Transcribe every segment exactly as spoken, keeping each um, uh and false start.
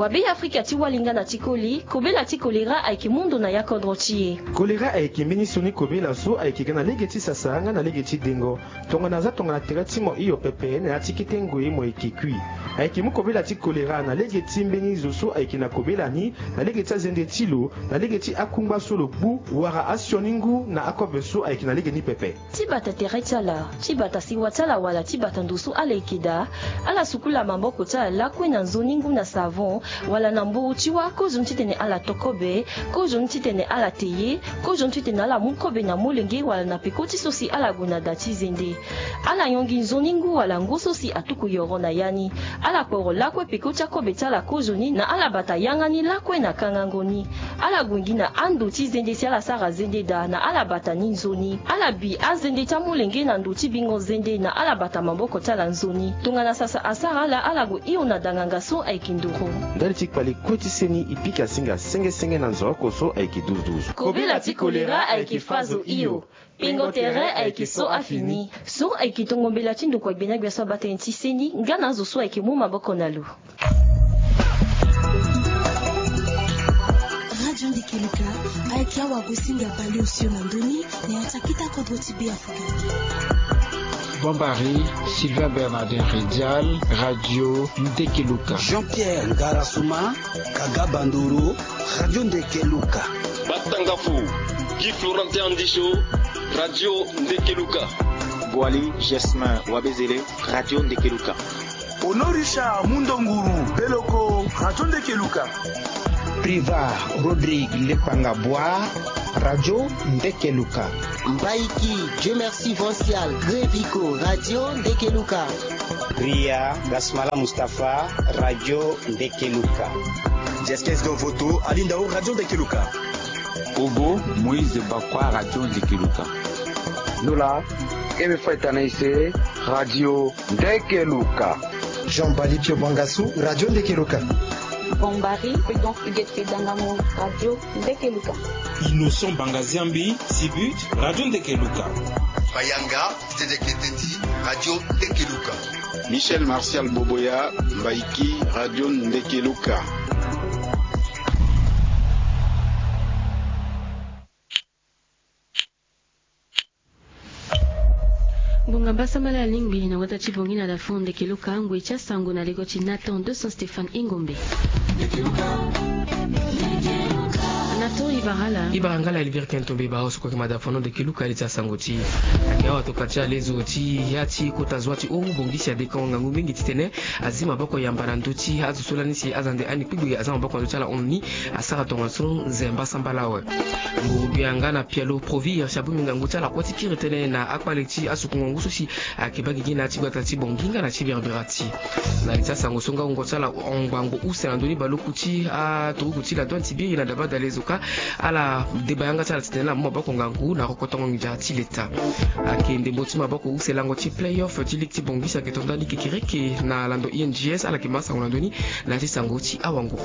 Wa Be Afrika ti wali nga na ti koli, kobela ti kolera ayeke mu ndo na ya kodro ti e. Kolera ayeke mbeni sioni kobela so ayeke ga na lege ti sasa nga na lege ti dengo. Tongana aza tongana tere ti mo hio pepe na ya ti kete ngoi mo yeke kui. Ayeke mu kobela ti kolera na lege ti mbeni zo so ayeke na kobela ni, na lege ti azende ti lo, na lege ti akungba so lo gbu, wala asioni ngu na akobe so ayeke na lege ni pepe. Ti bata tere ti ala, ti bata sewa ti ala wala ti bata ndo so ala yeke daa, ala sukula maboko ti ala lakue na nzoni ngu na savon, wala na mburu ti wâ, kozoni titene ala to kobe, kozoni titene ala te ye, kozoni titene ala mu kobe na molenge wala na peko ti so si ala gue na da ti zende. Ala yongi nzoni ngu wala ngu so si atuku yoro na ya ni. Ala kporo lakue peko ti akobe ti ala kozoni na ala bata yanga ni lakue na kangango ni. Ala gue gi na ando ti zende si ala sara zende daa na ala bata ni nzoni. Ala bi azende ti amolenge na ndo ti bingo zende na ala bata maboko ti ala nzoni. Tongana sasa asara ala, ala gue hio na danganga so ayeke nduru. Ndali ti kpale kue ti seni e pika singa senge senge na nzoni oko so ayeke duzu duzu. Kobela ti kolera ayeke fa zo hio. Pingo tere ayeke so afini. So ayeke tongo mbela ti ndokua gbena gbia so abaa tënë ti seni nga na azo so ayeke mu maboko na lo. Radio Ndekeluka ayeke awagosinga baleosio na ndö ni na ya ti akita kodro ti Be Afrika. Bombari, Sylvain Bernardin Redial, Radio Ndekeluka. Jean-Pierre Ngarasuma, Kaga Bandoro, Radio Ndekeluka. Batangafo, Guy Florentin Andisho, Radio Ndekeluka. Boali Gesmin Wabezele, Radio Ndekeluka. Honorisha Mundonguru Beloko, Radio Ndekeluka. Priva Rodrigue Lepanga Bois, Radio Ndekeluka. Mbaiki Dieu Merci Vancial Greviko, Radio Ndekeluka. Ria Gasmala Mustapha, Radio Ndekeluka. Jeskes Dovoto Alindao, Radio Ndekeluka. Obo Moïse Bakwa, Radio Ndekeluka. Nola Kebe Faitanaise, Radio Ndekeluka. Jean Bali Pio Bangasu, Radio Ndekeluka. Bombari Prudence Huguette Dangamu, Radio Ndekeluka. Innocent Bangaziambi Sibut, Radio Ndekeluka. Bayanga Tete Keteti, Radio Ndekeluka. Michel Martial Boboya, Mbaiki, Radio Ndekeluka. Ngonga mbasambala alingbi na wata ti bongi na dafon Ndekeluka, ngoi ti asango na lego ti Nathan deux cents Stéphane Ingombe. Nathan, ibara ala. Ibara nga la Elvire Kentombe, ibara osoko ke mada fono Ndekeluka, ali ti asango ti. Ake awa toka ti alezo ti ya ti kota zwa ti o bongisi adekongo ngangu mingi titene azi maboko yamba na ndö ti azo so lani si aza nde ani kpigbe aza maboko na ndö ti ala hon ni. Asara tongaso nze mbasambala awe. Ngu gbia nga na pialo Provir si abongbi ngangu ti ala kue ti kiri tënë na akpale ti asuku ngangu so si ayeke baa gigi na ya ti gbata ti Bangui nga na ti Berberati. Na li ti asango so nga wungo ti ala hon ngbangbo use na ndö ni baleoku ti aturugu ti la douane ti biri na daba dalezo ka ala deba yanga ti ala titene ala mu maboko ngangu na rokotongo nginza ti leta. Ayeke ndembo ti maboko use lango ti play-off ti ligue ti Bangui si ayeke to ndani kekereke na lando I N G S, ala yeke ma sango na ndö ni na ya ti sango ti awango.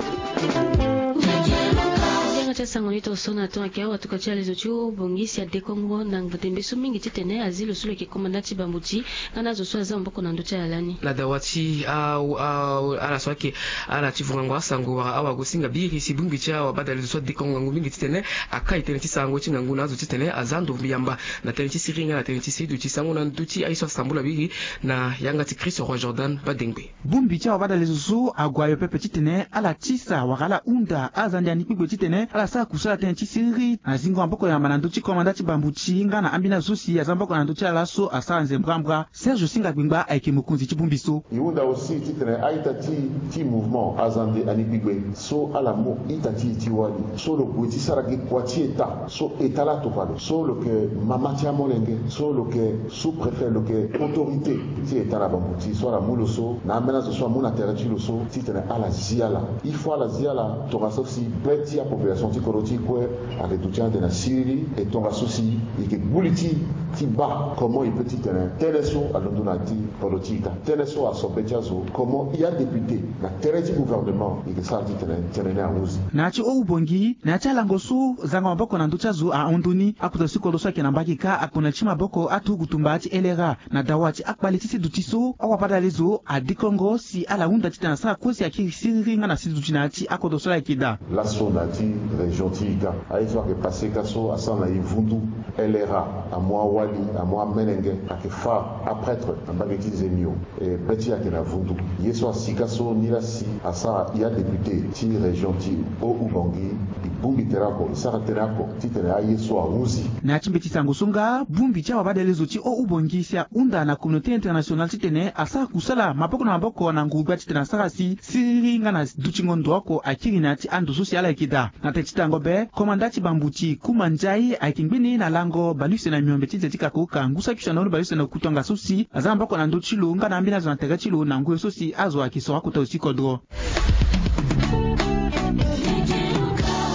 Yanga ti asango ni toso na ton ayeke awa tuka ti alezo ti o bongisi adekongo na ngbete mbe so mingi titene azi lo so lo yeke komanda ti bambuti nga na azo so aza maboko na ndö ti ala lani. Na dawa ti a, a, ala so ayeke ala ti vungango asango wala awagosinga biri si bongbi ti awa badalezo so adekongo ngangu mingi titene akai tënë ti sarango ti ngangu na azo titene aza ndo yamba na tënë ti siriri nga na tënë ti siduti sango na ndö ti aye so asambula biri na yanga ti Christ Roi Jordan Badengbe. Bongbi ti awa badalezo so ague ayo pepe titene ala tisa wala ala hunda aza nde ani kpigbe titene ala sara kusala tënë ti siriri na zingo maboko yamba na ndö ti komanda ti bambuti nga na ambeni azo so si aza maboko na ndö ti ala so asara nze mbrambra. Serge Singa Gbengba ayeke mokonzi ti bongbi so. E hunda aussi titene a-ita ti, ti mouvement aza nde ani kpigbe so ala mu ita ti e ti wali so lo gue ti sara gi kua ti État so État laa atokua lo so lo yeke mama ti amolenge so lo yeke sous-préfet, lo yeke autorité ti État na bambuti so ala mu lo so na ambeni azo so amu na tere ti lo so titene ala zi ala. Il faut ala zi ala tongaso si be ti apopulation ti kodro ti e kue ayeke duti ande na siriri. E tongaso si e yeke gbu li ti Ti baa comment e peut titene tënë so alondo na ya ti kodro ti e ka, tënë so aso be ti azo, comment ya député na tere ti gouvernement e ke sara titene tënë ni ahunzi. Na ya ti o-ubongi, na ya ti alango so zango maboko na ndö ti azo ahon ndoni, akota ti kodro so ayeke na mbage ka akona ti maboko aturugu tumba ti L R A na dawa ti akpale ti si duti so awabadale zo adikongo si ala hunda titene asara kue si akiri siriri nga na si duti na ya ti akodro so ala yeke daa. Laso na ya ti région ti e ka, aye so ayeke pase ka so asara na e vundu, L R A amu awali, amu amenenge, ayeke fâ aprêtre na mbage ti Zemio. E be ti e ayeke na vundu. Ye so asi ka so ni laa si asara ya député ti région ti o-ubongi, e bongbi tere oko, e sara tënë oko titene aye so ahunzi. Na ya ti mbeti sango so nga, bongbi ti awabadale zo ti o-ubongi si ahunda na communauté internationale titene asara kusala maboko na maboko na ngurugba titene asara si siriri nga na dutingo ndo oko akiri na ya ti ando so si ala yeke daa. Na tere ti tango be, komanda ti bambuti Kuma Ndiaye ayeke ngbeni na lango bale use na miombe ti nze ti kakoka ngu saki use na ndo bale use na kutu anga so si aza maboko na ndö ti lo nga na ambeni azo na tere ti lo na ngoi so si azo ayeke soro akota zo ti kodro.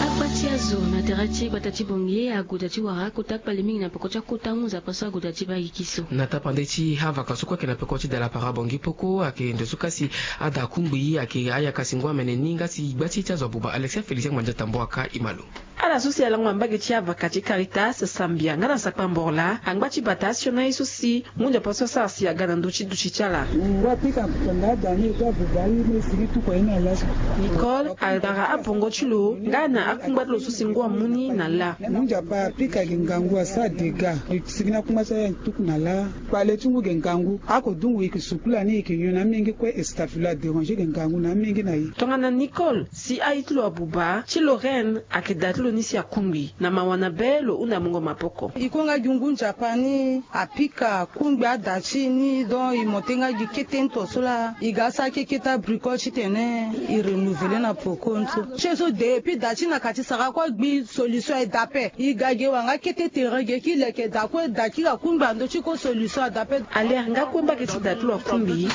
Akpa ti azo na tere ti gbata ti Bangui ague daa ti wara kota kpale mingi na peko ti akota ngu nzapa so ague daa ti baa gigi so. Na tapande ti avaka so kue ayeke na peko ti dala para Bangui poko ayeke ndo so ka si ada kungbi ayeke ayaka si ngu amene ni nga si gba ti ye ti azo abuba Alexia Félicien Mandiata Mboaka e ma lo. Ala so si alango na mbage ti avaka ti Caritas, Sambia nga na Sakpa Mborla angba ti bata asioni aye so si ngu nzapa so asara si aga na ndö ti duti ti ala. Ngua pika kutanga ada ni e to abuba aye ni e sigi tuku aye ni ala so. Nicole adara abongo ti lo nga na akungba ti lo so si ngu amu ni na lâ. Ngu nzapa apika gi ngangu asara dégâts. E sigi na akungba so aye tuku na lâ. Kpale ti ngu gi ngangu ako dungu e ke sukula ni e ke nyon na amenge kue e stafula déranger gi ngangu na amenge na e. Tongana Nicole si aye ti lo abuba ti Lorraine ayeke da ti lo ni si akungbi na mawa na be lo hunda mungo maboko. E kue nga gi ngu nzapa ni apika kungbi ada ti e ni donc e monté nga gi kete ni to so laa e ga sara keke ti abricole titene e renouveler na poko ni so. Ti e so depuis da ti na ka ti sara kue gbi solution e da ape. E ga ge wanga kete tere ge ki leke da kue da kiri akungbi na ndö ti kue solution ada ape. Alere nga kue mbage ti da ti lo akungbi.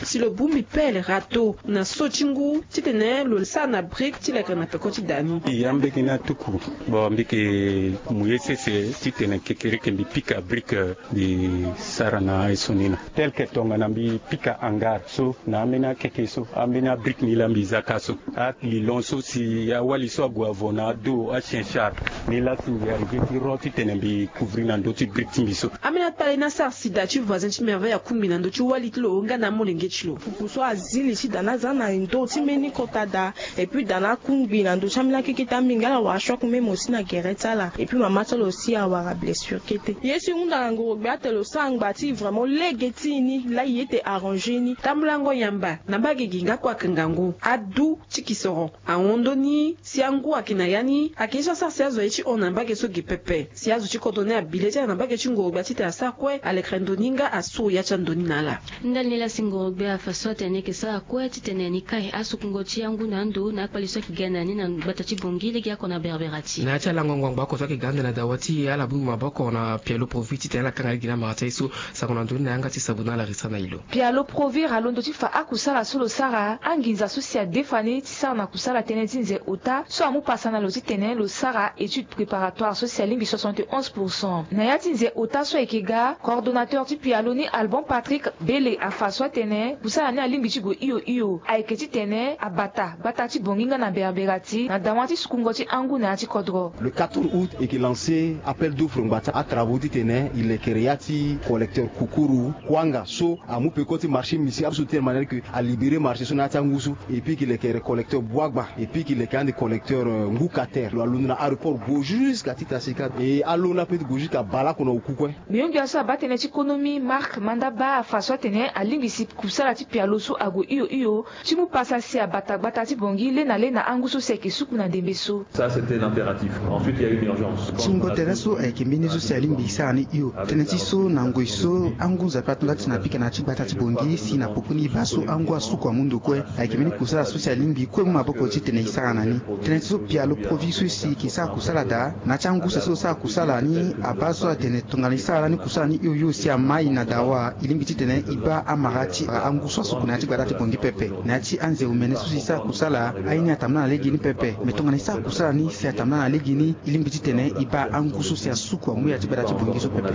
Si lo bongbi pelle, râteau na so ti ngu titene lo sara na brique ti leke na peko ti da ni. Ya mbage ni atuku. Bon, mbi yeke mu ye sese titene kekereke mbi pika brique, euh, mbi sara na aye so ni na. Tel que tongana mbi pika hangar so na ambeni akeke so, ambeni abrique ni laa mbi za ka so. Alilon so si awali so ague avo na ado, achien char, ni laa si mbi arrivé ti ro titene mbi couvrir na ndö ti brique ti mbi so. Ambeni akpale ni asara si da ti voisin ti Merveille akungbi na ndö ti wali ti lo nga na amolenge ti lo. Kuku so azi li ti da ni aza na ndö ti mbeni kota da. Et puis da ni akungbi na ndö ti ambeni akeke ti amingala wala choc même aussi na gere ti ala. Et puis mama ti ala aussi awara blessure kete. Ye so e hunda na ngoro gbia atene lo sara ngba ti e vraiment lege ti e ni laa e ye ti arranger ni. Tambulango yamba na mbage gi nga kue ayeke ngangu. Adu ti kisoro ahon ndoni si angu ayeke na ya ni ayeke ye so asara si azo aye ti hon na mbage so ge pepe. Si azo ti kodro ni abi le ti ala na mbage ti ngoro gbia titene asara kue alekere ndoni nga asuru ya ti andoni na ala. Ndali ni laa si ngoro gbia afa so atene ni yeke sara kue titene ni kai asukungo ti angu na ando na akpale so ayeke ga na ni na gbata ti Bangui legeoko na Berberati. Na ya ti alango ngbangba oko so ayeke ga ande na dawa ti e ala bongbi maboko na Pialo Provi titene ala kanga lege na amara ti aye so. Sango na ndoni na yanga ti Sabuna Larissa na e lo. Pialo Provi alondo ti fa akusala so lo sara anginza so si adefa ni ti sara na kusala tënë ti nze ota so amu pasa na lo titene lo sara étude préparatoire so si alingbi soixante et onze pour cent. Na ya ti nze ota so ayeke ga, coordonnateur ti Pialo ni Alban Patrick Bele afa so atene kusala ni alingbi ti gue hio hio ayeke titene abata gbata ti Bangui nga na Berberati na dawa ti sukungo ti angu na ya ti kodro. Le quatorze août e yeke lancer appel d'offre ngbata atravaux titene e lekere ya ti collecteur Kukuru Kuanga so amu peko ti marché misi ape so titene manière que alibérer marché so na ya ti angu so. Et puis e yeke lekere collecteur Boagba et puis e yeke leke ande collecteur, euh, Ngukater. Lo alondo na aéroport gue jusqu'à Titasika. Et alo ni ape ti gue jusqu'à Balako na oku kue. Miongbia so abaa tënë ti konomi Marc Mandaba afa so atene alingbi si kusala ti Pialo so ague hio hio ti mu pasa si abata gbata ti Bangui le na le na angu so si ayeke suku na ndembe so. Ça, c'était l'impératif. Ensuite, il y a eu une urgence. Ti ngu tere so ayeke mbeni so si alingbi e sara ni hio. Tënë ti so na ngoi so angu nzapa ato nda ti na pika na ya ti gbata ti Bangui si na popo ni e baa so angu asuku amu ndo kue. Ayeke mbeni kusala so si alingbi kue mu maboko titene e sara na ni. Tënë ti so Pialo Provi so si e yeke sara kusala daa na ya ti angu so si lo sara kusala ni abaa so atene tongana e sara lani kusala ni hio hio si amai na dawa e lingbi titene e baa amara ti angu. Ngu so asuku na ya ti gbata ti Bangui pepe na ya ti anze omene so si e sara kusala aye ni atambula na legeni pepe. Me tongana e sara kusala ni si atambula na legeni, e lingbi titene e baa angu so si asuku amu ya ti gbata ti Bangui so pepe.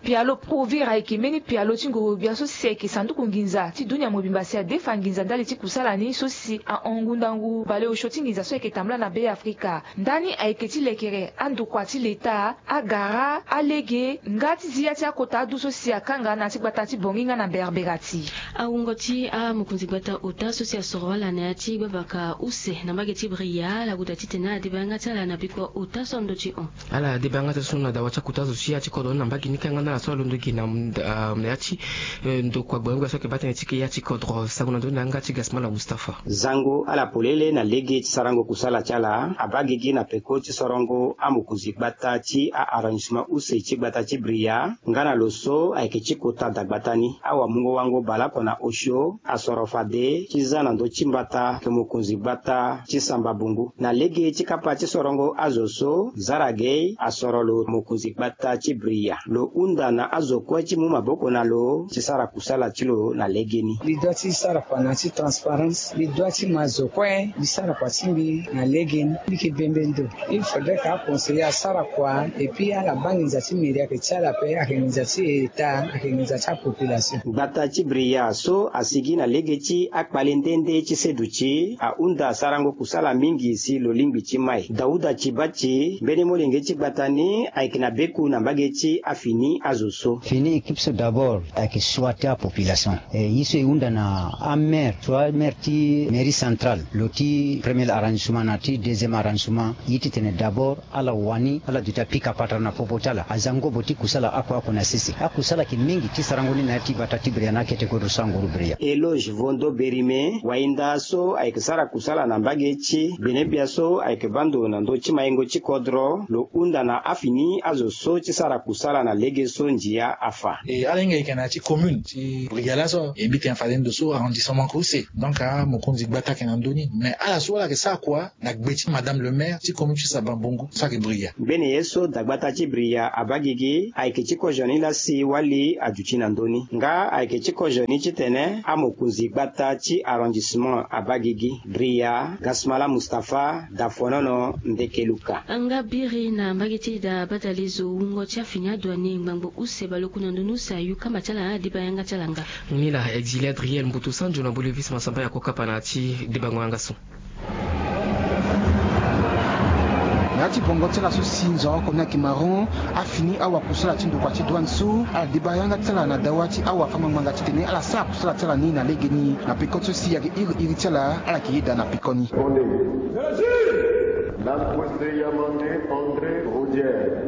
Pialo Provera ayeke mbeni pialo ti ngoro-gbia so si ayeke sanduku nginza ti dunia mobimba si adefa nginza ndali ti kusala ni so si ahon ngu ndangu baleosio ti nginza so ayeke tambula na Be Afrika. Ndani ayeke ti lekere andokua ti leta, agara, alege nga ti zi ya ti akota adu so si akanga na ya ti gbata ti Bangui nga na Berberati. Awungo ti amokonzi gbata ota so si asoro ala na ya ti gbabaka use na mbage ti Bria, ala guda titene ala deba yanga ti ala na bikua ota so andö ti hon. Ala deba yanga ti ala so na dawa ti akota zo ti ya ti kodro ni na mbage ni kanga na ala so alondo gi na, ah, na ya ti, eh, ndokua gbongbia so ayeke baa tënë ti ke ya ti kodro. Sango na ndö ni na yanga ti Gasmala Mustapha. Zango ala polele na lege ti sarango kusala ti ala abaa gigi na peko ti sorongo amokonzi gbata ti a-arrondissement use ti gbata ti Bria. Nga na lo so ayeke ti kota dagbata ni, awamungo-wango baleoko na osio asoro fade ti za na ndö ti mbata ayeke mokonzi gbata ti Samba Bongo. Na lege ti kapa ti sorongo azo so, Zara Gay asoro lo mokonzi gbata ti Bria. Lo hunda na azo kue ti mu maboko na lo ti sara kusala ti lo na legeni. Mbi doit ti sara kua na ya ti transparence. Mbi doit ti ma zo kue mbi sara kua ti mbi na legeni. Mbi yeke bembe ndo. Il faudrait que aconseiller asara kua, et puis ala baa nginza ti mairie ayeke ti ala ape, ayeke nginza ti État, ayeke nginza ti apopulation. Gbata ti Bria so asigi na lege ti akpale nde nde ti seduti ahunda sarango kusala mingi si lo lingbi ti mai. Dauda Tibati, mbeni molenge ti gbata ni, ayeke na beku na mbage ti afini azo so. Fini équipe so d'abord ayeke choix ti apopulation. Eh, ye so e hunda na amaire, soit maire ti mairie centrale, lo ti premier arrondissement na ti deuxième arrondissement, ye titene d'abord ala wani ala duti apika patara na popo ti ala, aza ngobo ti kusala oko oko na sese. Akusala ayeke mingi ti sarango ni na ya ti gbata ti Bria na akete kodro so anguru Bria. Eloge Vondo Berime, wainda so ayeke sara kusala na mbage ti gbenegbia so ayeke baa ndo na ndö ti maingo ti kodro, lo hunda na afini azo so ti sara kusala na lege so ndia afa. E ala hinga e yeke na ya ti commune ti Bria laso, e mbi tene fade ndo so arrondissement use. Donc amokonzi gbata ayeke na ndö ni, mais ala so ala yeke sara kua na gbe ti madame le maire ti commune ti Samba Bongo so ayeke Bria. Mbeni ye so dagbata ti Bria abaa gigi ayeke ti kozo ni laa si wali aduti na ndö ni. Nga ayeke ti kozo ni titene amokonzi gbata ti arrondissement abaa gigi. Bria, Gasmala Mustapha, Dafonono, Ndekeluka. Nga biri na mbage ti da badalezo wungo ti afini adouane ngbangbo use baleoku na ndoni use ayu kamba ti ala na adeba yanga ti ala nga. Nila Exilé Adriel Mbutu Sanjo na Bolivis Masamba ya kokapa na ti debango yanga so. Na ya ti bongo ti ala so si nzoro oko ni ayeke marron, afini awakusala ti ndokua ti douane so ala deba yanga ti ala na dawa ti awafangbanga titene ala sara kusala ti ala ni na legeni. Na peko ti so si ayeke iri iri ti ala, ala yeke yeda na peko ni. André Roger.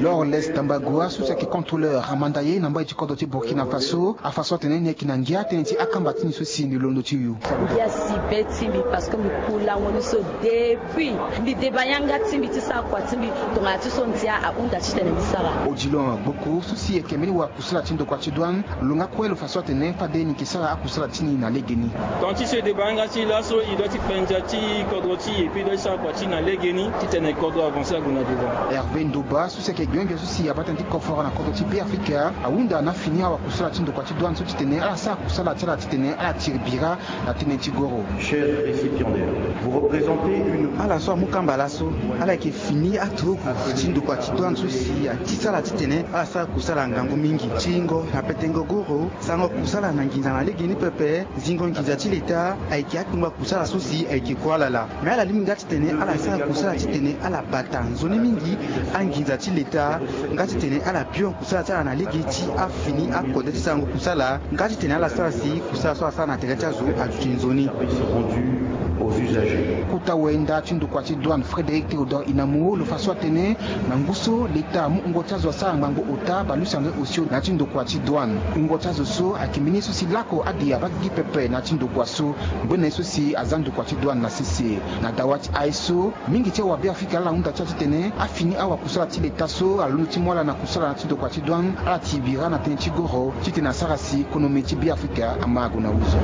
Lors les Tambagoa so si ayeke contrôleur amanda ye na mbai ti kodro ti Burkina Faso, afa so atene ni ayeke na ngia tënë ti akamba ti ni so si ni londo ti yo. Ngia si be ti mbi parce que mbi ku lango ni so depuis mbi deba yanga ti mbi ti sara kua ti mbi tongana ti so ndia ahunda titene mbi sara. Odilon Gboko so si ayeke mbeni wakusala ti ndokua ti douane, lo nga kue lo fa so atene fade ni yeke sara akusala ti ni na legeni. Tant ti so e deba yanga ti e laso e doit ti kpe ndia ti kodro ti e puis e doit ti sara kua ti e na legeni titene kodro avancer ague na devant. Hervé Ndoba so si ayeke gbengbe so si abaa tënë ti koforo na kodro ti Beafrika ahunda na afini awakusala ti ndokua ti douane so titene ala sara kusala ti ala titene ala tiri bira na tënë ti goro. Chers récipiendaires, vous représentez une... Ala so amu kamba laso ala yeke fini aturuku ti ndokua ti douane so si ati ti ala titene ala sara kusala ngangu mingi. Tiringo na petengo goro, sarango kusala na nginza na legeni pepe, zingo nginza ti leta ayeke akpengba kusala so si ayeke kue ala laa. Me ala lingbi nga titene ala sara kusala titene ala bata nzoni mingi anginza ti leta, nga titene ala pio kusala ti ala na lege ti afini akode ti sarango kusala, nga titene ala sara si kusala so asara na tere ti azo aduti nzoni. Kota wenda ti ndokua ti douane Frédéric Théodore Inamu lo fa so atene na ngu so leta amu wungo ti azo asara ngbangbo ota baleuse André Osio na ya ti ndokua ti douane. Wungo ti azo so ayeke mbeni ye so si lako ade abaa gigi pepe na ya ti ndokua so. Ngbene ye so si aza ndokua ti douane na sese. Na dawa ti aye so, mingi ti awabeafrika ala hunda ti ala titene afini awakusala ti leta so alondo ti mu ala na kusala na ya ti ndokua ti douane ala tiri bira na tënë ti goro titene asara si konomi ti Beafrika ama ague na wuzo.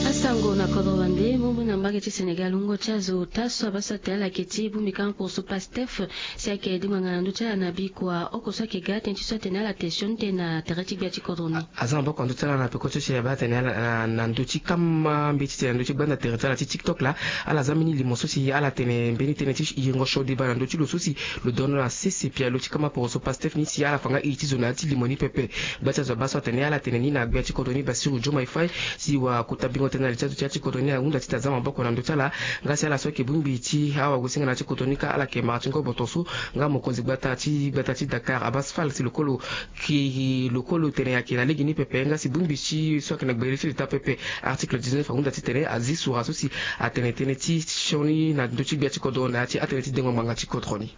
Asango na kodro wani. Nde mumbu na mbage ti Sénégal wungo ti azo ota so abaa so atene ala yeke ti bongbi kama poroso Pastef si ayeke dinganga na ndö ti ala na bikua oko so ayeke ga tënë ti so atene ala yeke sioni tënë na tere ti gbia ti kodro ni. Aza maboko na ndö ti ala na peko ti so si abaa atene ala na ndö ti kama mbeti tene na ndö ti gbanda tere ti ala ti TikTok laa. Ala za mbeni limo so si ala tene mbeni tënë ti yengo sioni deba na ndö ti lo so si lo dono na sese pialo ti kama poroso Pastef ni si ala fa nga iri ti zo na ya ti limo ni pepe. Gba ti azo abaa so atene ala tene ni na gbia ti kodro ni Bassirou Diomaye Faye si wakota bingo tënë na li ti azo ti ya ti kodro ni ahunda ti tene aza maboko na ndö ti ala. Nga si ala so ayeke bongbi ti awagosinga na ya ti kodro ni kâ ala yeke mara ti ngobo tongaso. Nga mokonzi gbata ti gbata ti Dakar Abass Fall si lokolo ki lokolo tene ayeke na lege ni pepe nga si bongbi ti so ayeke na gbele ti leta pepe article dix-neuf ahunda titene azi sura so si atene tënë ti sioni na ndö ti gbia ti kodro na ya ti atënë ti dengo ngbanga ti kodro ni.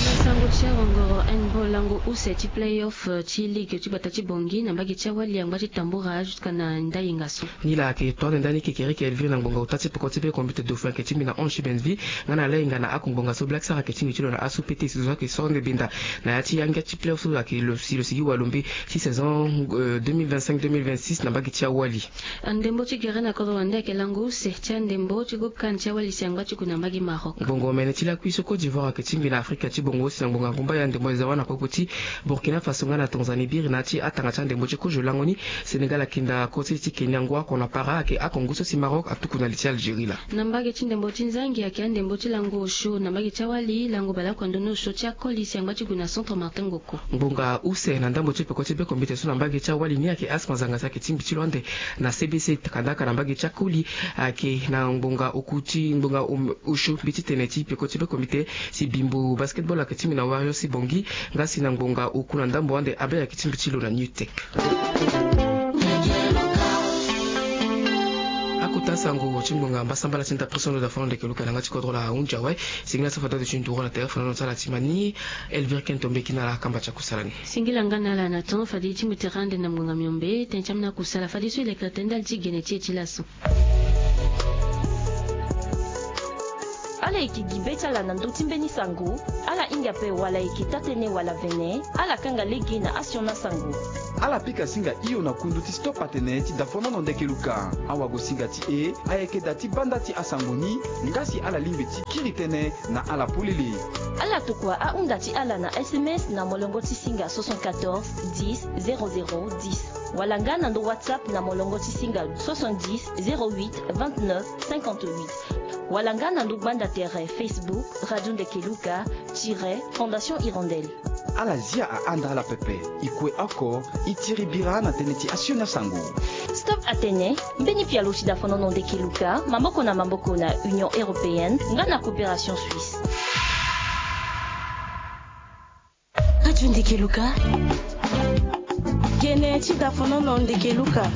Na sango ti awangoro handball lango use ti play-off ti ligue ti gbata ti Bangui na mbage ti awali angba ti tambura jusqu'à na ndainga so. Ni la ayeke to ande ndani kekereke Elvire na ngbonga ota ti peko ti be kombite dauphin ayeke tingbi na onze ti Benneville nga na lainga na ako ngbonga so Black Star ayeke tingbi ti lo na asu pete si zo ayeke so ande benda na ya ti angia ti play-off so ayeke lo si lo sigi walombe ti saison deux mille vingt-cinq deux mille vingt-six na mbage ti awali. Andembo ti gere na kodro wande ayeke lango use ti andembo ti groupe CAN ti awali si angba ti gue na mbage Maroc. Ngbonga omene ti lakui so Côte d'Ivoire ayeke tingbi na Afrika ti bongo si na ngbonga ngumbaya ndembo eza wâ na popo ti Burkina Faso nga na Tanzanie biri na ya ti atanga ti andembo ti kozo lango ni. Sénégal ayeke nda koti ti Kenya ngu oko na para ayeke ako ngu so si Maroc atuku na li ti Algérie laa. Na mbage ti ndembo ti nzangi ayeke andembo ti lango osio na mbage ti awali lango baleoko na ndoni osio ti akoli si angba ti gue na centre Martin Ngoko. Ngbonga use na ndambo ti peko ti be kombite so na mbage ti awali ni ayeke asma zanga si ayeke tingbi ti lo ande na C B C kandaka na mbage ti akoli ayeke na ngbonga oku ti ngbonga osio mbi ti tene ti peko ti be kombite si Bimbo Basketball ayeke tingbi na Warriors ti Bangui nga si na ngbonga oku na ndambo ande Abel ayeke tingbi ti lo na New Tech. Akota sango ti ngbonga mbasambala ti ndapre so ndo dafono ndeke luka na nga ti kodro la ahunzi awe. Singila so fade ado ti nduru na tere fonono ti ala ti ma ni. Elvire Kento mbeki na ala akamba ti akusala ni. Singila nga na ala na temps fade ti mu tere ande na ngbonga miombe tënë ti ambeni akusala fadeso e lekere tënë ndali ti gene ti e ti laso. Ala yeke gi be ti ala na ndö ti mbeni sango. Ala hinga ape wala e yeke taa-tënë wala vene. Ala kanga lege na asioni asango. Ala pika singa hio na kundu ti stop atene ti dafonono ndeke luka. Awagosinga ti e ayeke da ti banda ti asango ni. Nga si ala lingbi ti kiri tënë na ala polele. Ala tokua ahunda ti ala na S M S na molongo ti singa soixante-quatorze dix zéro zéro dix. Wala nga na ndo WhatsApp na molongo ti singa soixante-dix zéro huit vingt-neuf cinquante-huit. Wala nga na ndo gbanda tere Facebook Radio Ndeke Luka tiret Fondation Hirondelle. Ala zia ahanda ala pepe. E kue oko e tiri bira na tënë ti asioni asango. Stop atene mbeni pialo ti dafonono ndeke luka maboko na maboko na Union Européenne nga na Coopération Suisse. Radio Ndeke Luka. Gene ti dafonono ndeke luka.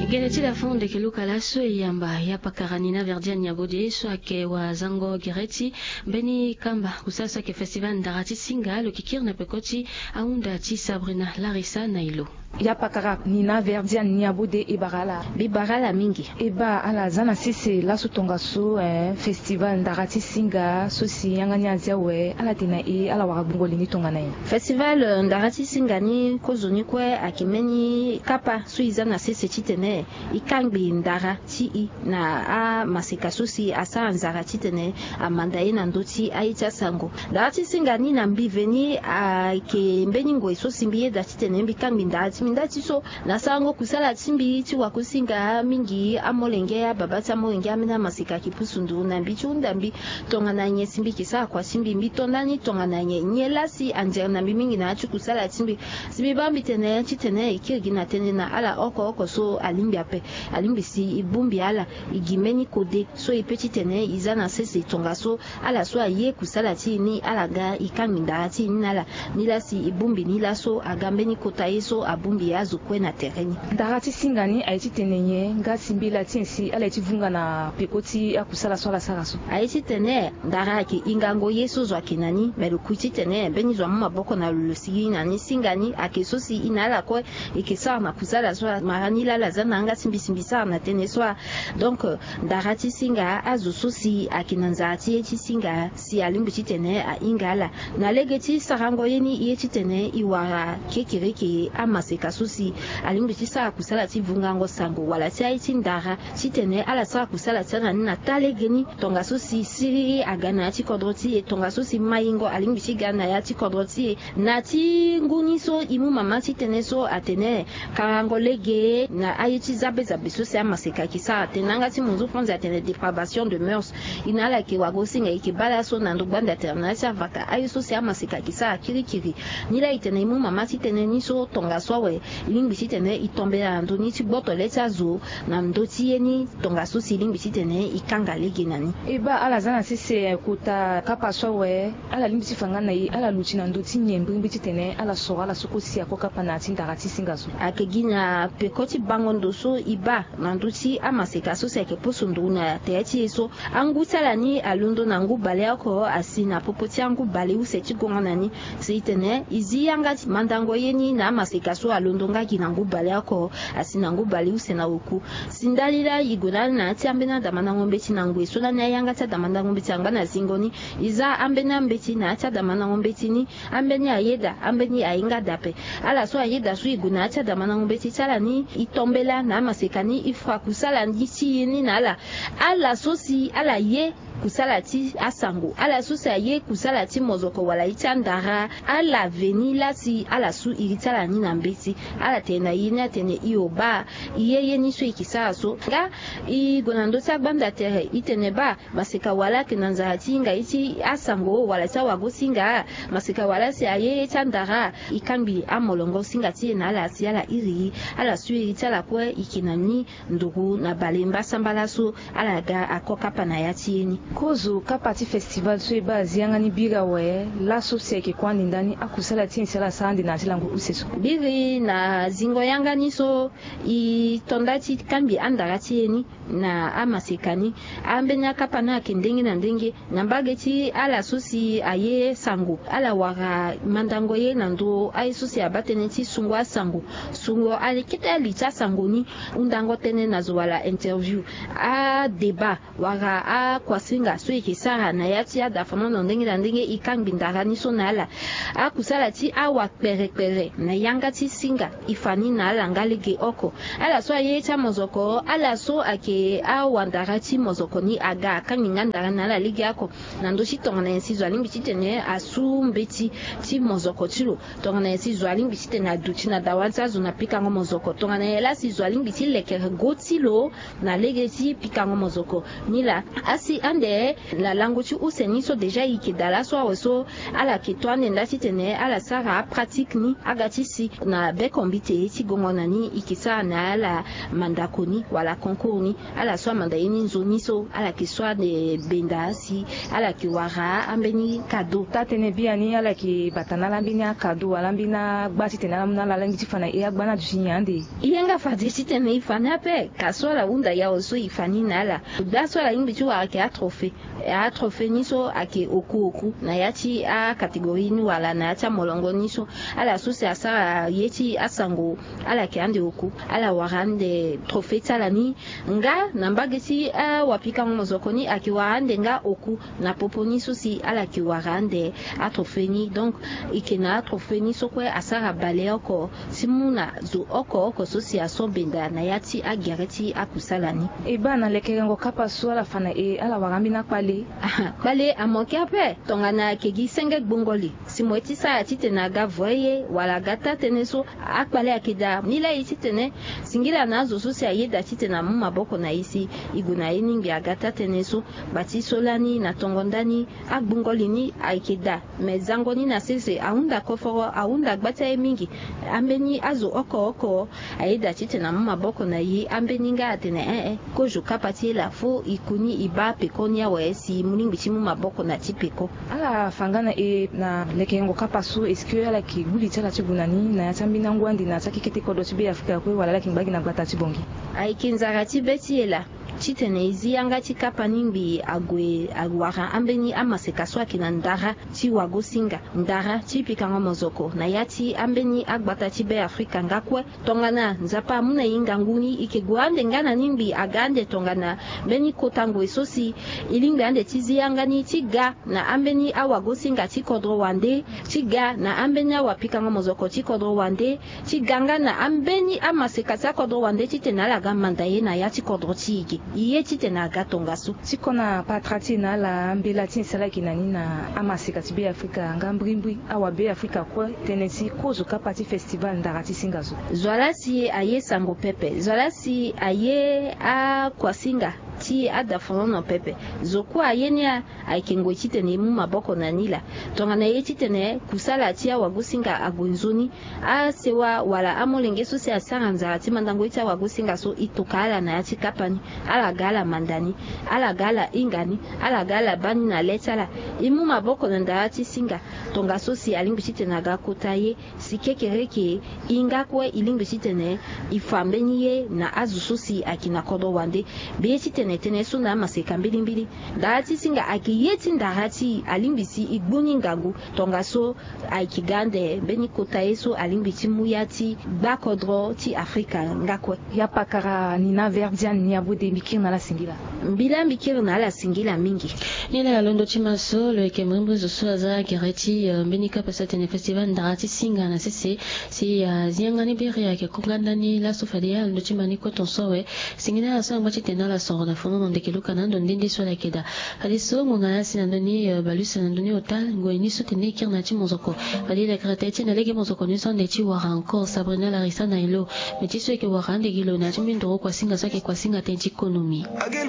Gene ti dafonono ndeke luka laso e yamba ya pakara Nina Verdiane Niabode so ayeke wazango gere ti mbeni kamba kusala so ayeke festival ndara ti singa lo yeke kiri na peko ti ahunda ti Sabrina Larissa na e lo. Ya pakara Nina Verdiane Niabode e bara ala. Mbi bara ala mingi. E baa ala za na sese laso tongaso eh, festival ndara ti singa so si yanga ni azi awe ala tene na e ala wara gbungo li ni tongana nyen? Festival eh, ndara ti singa ni kozo ni kue ayeke mbeni kapa so e za na sese titene e kangbi ndara ti e na amaseka so si asara nzara titene amanda ye na ndö ti aye ti asango. Ndara ti singa ni na mbi veni ayeke mbeni ngoi so si mbi yeda titene mbi kangbi ndara ti mbi nda ti so na sarango kusala ti mbi ti wakusinga mingi amolenge ababa ti amolenge ambeni amaseka ayeke pusu nduru na mbi ti hunda mbi tongana nyen si mbi yeke sara kua ti mbi mbi to ndani tongana nyen nyen laa si anzere na mbi mingi na ya ti kusala ti mbi. Si mbi baa mbi tene titene e kiri gi na tënë na ala oko oko so alingbi ape. Alingbi si e bongbi ala e gi mbeni kode so e pe titene e za na sese tongaso ala so aye kusala ti e ni ala ga e kangbi ndara ti e ni na ala. Nilaa si e bongbi ni laso aga mbeni kota ye so abongbi azo kue na tere ni. Ndara ti singa ni aye titene nyen nga si mbela ti nyen si ala ye ti vunga na peko ti akusala so ala sara so? Aye titene ndara ayeke hingango ye so zo ayeke na ni me lo kui titene mbeni zo amu maboko na lo lo sigi na ni singa ni ayeke so si e na ala kue e yeke sara na kusala so amara ni laa ala za na yanga ti mbi si mbi sara na tënë so a. Donc ndara ti singa azo so si ayeke na nzara ti ye ti singa si alingbi titene ahinga ala na lege ti sarango ye ni ye titene e wara kekereke amase Ka so si alingbi ti sara kusala ti vungango sango wala ti aye ti ndara titene ala sara kusala ti ala ni na taa legeni. Tongaso si siriri aga na ya ti kodro ti e, tongaso si mayingo alingbi ti ga na ya ti kodro ti e, na ti ngu ni so e mu mama titene so atene karango lege na aye ti zabe zabe so si amaseka ayeke sara tene na yanga ti munzu franzi atene dépravation de mœurs. E na ala yeke wagosinga e yeke baa laso na ndö gbanda tere na ya ti avaka aye so si amaseka ayeke sara kirikiri. Nilaa e tene e mu mama ti tënë ni so tongaso awe e lingbi ti tene e tombela na ndö ni ti gboto le ti azo na ndö ti ye ni tongaso si e lingbi ti tene e kanga lege na ni. E baa ala za na sese kota kapa so awe ala lingbi ti fa nga na e ala luti na ndö ti nyen mbirimbiri ti tene ala soro ala so kue si ako kapa na ya ti ndara ti singa so? Ayeke gi na peko ti bango ndo so e baa na ndö ti amaseka so si ayeke poso nduru na tere ti e so. Angu ti ala ni alondo na ngu baleoko asi na popo ti angu baleuse ti gongo na ni. Si e tene e zi yanga ti mandango ye ni na amaseka so alondo nga gi na ngu baleoko asi na ngu baleuse na oku. Si ndali laa e gue na ala na ya ti ambeni adamandango mbeti na ngoi so lani ayanga ti adamandango mbeti angba na zingo ni. E za ambeni ambeti na ya ti adamandango mbeti ni. Ambeni ayeda, ambeni ahinga daa ape. Ala so ayeda so e gue na ya ti adamandango mbeti ti ala ni e tombela na amaseka ni e fa kusala ni ti e ni na ala. Ala so si ala ye kusala ti asango, ala so si aye kusala ti mozoko wala ye ti andara, ala veni laa si ala su iri ti ala ni na mbeti. Ala tene na e ni atene e o baa e ye ye ni so e yeke sara so. Nga e gue na ndö ti agbanda tere e tene baa maseka wala ayeke na nzara ti hinga ye ti asango wala ti awago-singa. Maseka wala si aye ye ti andara. E kangbi amolongo singa ti e na ala si ala iri e. Ala su iri ti ala kue e yeke na ni nduru na bale mbasambala so ala ga ako kapa na ya ti ye ni. Kozo kapa ti festival so e baa azi yanga ni biri awe laso si ayeke kue ande ndani akusala ti nyen si ala sara ande na ya ti lango use so? Biri na zingo yanga ni so e to nda ti kangbi andara ti e ni na amaseka ni. Ambeni akapa ni ayeke ndenge na ndenge. Na mbage ti ala so si aye sango ala wara mandango ye na ndö aye so si abaa tënë ti sungo asango, sungo ali kete ali ti asango ni, hundango tënë na zo wala interview, adébat wala akuasinga so e yeke sara na ya ti adafamono ndenge na ndenge. E kangbi ndara ni so na ala. Akusala ti awa kperekpere na yanga ti singa e fa ni na ala nga lege oko. Ala so aye ti amozoko, ala so ayeke awandara ti mozoko ni aga akangbi nga ndara na ala legeoko. Na ndö ti tongana nyen si zo alingbi titene asu mbeti ti mozoko ti lo? Tongana nyen si zo alingbi titene aduti na dawa ti azo na pikango mozoko? Tongana nyen laa si zo alingbi ti lekere go ti lo na lege ti pikango mozoko? Ni laa asi ande na lango ti use ni so déjà e yeke daa laso awe so ala yeke to ande nda titene ala sara apratike ni aga ti si na beko mbite ti gongo na ni e yeke sara na ala mandako ni wala concours ni. Ala so amanda ye ni nzoni so ala yeke so ande benda si ala yeke wara ambeni kado. Taa-tënë biani ala yeke bata na ala ambeni akado wala ambeni agba titene ala mu na ala alingbi ti fa na e agba ni aduti nyen ande? E ye nga fade titene e fa ni ape. Ka so ala hunda yawe so e fa ni na ala. Gba so ala lingbi ti wara ayeke atrophée. Atrophée ni so ayeke oku oku na ya ti acatégorie ni wala na ya ti amolongo ni so. Ala so si asara ye ti asango ala yeke ande oku. Ala wara ande trophée ti ala ni. Nga na mbage ti awapikango mozoko ni ayeke wara ande nga oku na popo ni so si ala yeke wara ande atrophée ni. Donc e yeke na atrophée ni so kue asara baleoko ti mu na zo oko oko so si aso benda na ya ti agere ti akusala ni. E baa na lekerengo kapa so ala fa na e ala wara ambeni akpale. Kpale amoke ape. Tongana ayeke gi senge gbongoli si mo ye ti sara titene aga voye wala aga taa-tënë so, akpale ayeke daa. Nilaa e titene singila na azo so si ayeda titene amu maboko na e si e gue na ye ni ngbi aga taa-tënë so. Bati so lani na tongo ndani agbongoli ni ayeke daa. Me zango ni na sese ahunda koforo, ahunda gba ti aye mingi. Ambeni azo oko oko ayeda titene amu maboko na e. Ambeni nga atene ee, kozo kapa ti e laa fo e ku ni e baa peko ni awe si e mu lingbi ti mu maboko na ti peko. Ala fa nga na e na lekerengo kapa so, est-ce que ala yeke gbu li ti ala ti gue na ni na ya ti ambeni angu ande na ya ti akekete kodro ti Beafrika kue wala ala yeke ngba gi na gbata ti Bangui? Ayeke nzara ti be ti e laa. Titene e zi yanga ti kapa ni ngbii ague awara ambeni amaseka so ayeke na ndara ti wagosinga, ndara ti pikango mozoko na ya ti ambeni agbata ti Be Afrika nga kue. Tongana Nzapa amu na e ngangu ni, e yeke gue ande nga na ni ngbii aga ande tongana mbeni kota ngoi so si e lingbi ande ti zi yanga ni ti ga na ambeni awagosinga ti kodro wande, ti ga na ambeni awapikango mozoko ti kodro wande, ti ga nga na ambeni amaseka ti akodro wande titene ala ga manda ye na ya ti kodro ti e ge. E ye titene aga tongaso. Ti kona patara ti e na ala, mbela ti e si ala yeke na ni na amaseka ti Be Afrika nga mbrimbri, awa Be Afrika kue, tënë ti kozo kapa ti festival ndara ti singa so. Zo laa si aye sango pepe, zo laa si aye akuasinga ti adafonono pepe. Zo kue aye ni a ayeke ngoi titene e mu maboko na ni laa. Tongana e ye titene kusala ti awagosinga ague nzoni, asewa wala amolenge so si asara nzara ti mandango ye ti awagosinga so, e toka ala na ya ti kapa ni. Ala ga ala manda ni, ala ga ala hinga ni, ala ga ala baa ni na le ti ala. E mu maboko na ndara ti singa. Tongaso si alingbi titene aga kota ye, si kekereke e nga kue e lingbi titene e fa mbeni ye na azo so si ayeke na kodro wande. Be ye titene e tene so na amaseka mbilimbili, ndara ti singa ayeke ye ti ndara ti e, alingbi si e gbu ni ngangu. Tongaso ayeke ga ande mbeni kota ye so alingbi ti mu ya ti gba kodro ti Afrika nga kue. Ya pakara Nina Verdiane ni abode, mbi kiri na ala singila. Mbi laa mbi kiri na ala singila mingi. Ni laa londo ti ma so lo yeke mbrimbri zo so aza gere ti, eh, mbeni kapa so atene festival ndara ti singa na sese, si, eh, azi yanga ni biri ayeke konganda ni laso fade alondo ti ma ni kue ton so awe. Singila ala so angba titene ala soro na fono na ndeke luka na ando nde nde so ala yeke daa. Fadeso ngonga laa si na ndö ni, eh, balusa na ndö ni otal ngoi ni so tene e kiri na ya ti mozoko. Fade e lekere tënë ti e na lege mozoko ni so ande ti wara encore Sabrina Larissa na elo. Me ti so e yeke wara ande gi lo na ya ti mbeni ndoro kuasinga so ayeke kuasinga tënë ti konomi.